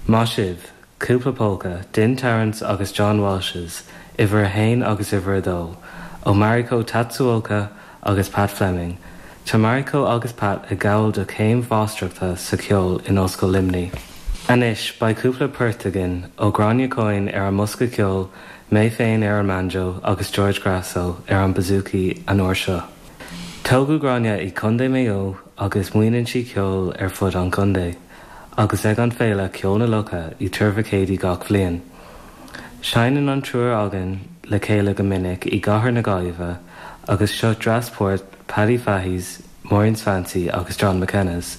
Maith sibh! Cúpla Polca, Din Terrence agus John Walsh's, uimhir a haon agus uimhir a dó, ó Mariko Tatsuoka agus Pat Fleming. Tá Mariko agus Pat ag gabháil do chéim mháistreachta sa cheol in Ollscoil Luimnigh. Anois, beidh cúpla port againn ó Gráinne Coyne ar an mbosca ceoil, mé féin ar an mbanjo agus George Grasso ar an bouzouki an uair seo. Tógadh Gráinne i Contae Mhaigh Eo agus múineann sí ceol ar fud an chontae agus ag an féile Ceol na Locha i dTuar Mhic Éadaigh gach bhliain. Seinneann an triúr againn le chéile go minic i gcathair na Gaillimhe agus seo dreas-port Paddy Fahy's, Maureen's Fancy agus John McKenna's.